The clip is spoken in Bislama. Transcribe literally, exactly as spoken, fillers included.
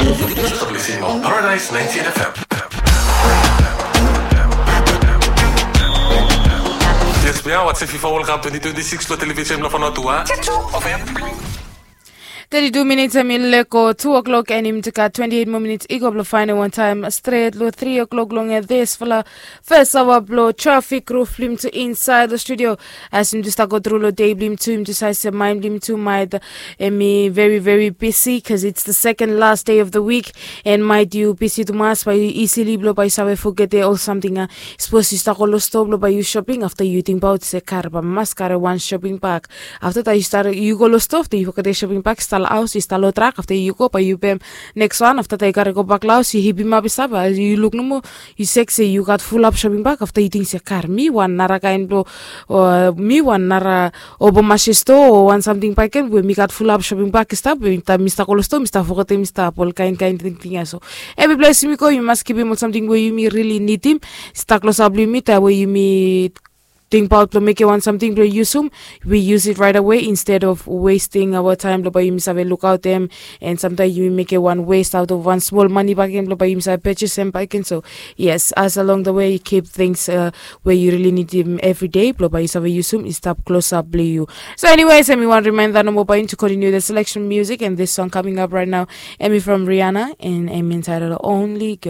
Paradise ninety-eight F M. Yes, we are watching FIFA World Cup twenty twenty-six lo television lo Fanotua. Thirty-two minutes hemi leko two o'clock and him gat twenty-eight more minutes i go blo faenem wan taem stret lo three o'clock long dispela first hour blo traffic roof blo him tu inside the studio. As him tu start go through lo day blo him tu, him tu save se mind blo him tu might hemi very very busy because it's the second last day of the week. And might yu busy tumas bae yu easily blo bae yu save forget ol samting a. Sapos yu start go lo store blo bae yu shopping, afta yu tingbaot se kare bae mas kare wan shopping bag. Afta dat yu start yu go lo store, afta yu forget shopping bag, start lo haos, yu start lo truck, afta yu go bae yu pem next one, afta dat yu kare go bak lo haos, yu hipim ap i stap, yu luk nomo, yu sek se yu gat fulap shopping bag, afta yu ting se kar mi wan nara kaen blo, o mi wan nara obo mashe stoa o wan samting bakegen we mi gat fulap shopping bag i stap, we taem mi stap go lo stoa mi stap fogetem i stap ol kaen kaen tingting ya. So evri ples yumi go yumi mas givim ol samting we yumi rili nidim. Stap klosap blo yumi taem we yumi tingbaot blo mekem wan samting blo yusum, we use it right away instead of wasting our time blo bae yumi save lukaotem. And samtaem yumi mekem wan waste out of wan smol mane bakegen blo bae yumi save purchasem bakegen. So yes, as along the way keep things uh, we yu rili nidim evri day blo bae yu save yusum i stap klosap blo yu. So anyways, hemi wan reminder nomo bae yu to continue the selection music and this song coming up right now, hemi from Rihanna and hemi entitled Only Girl.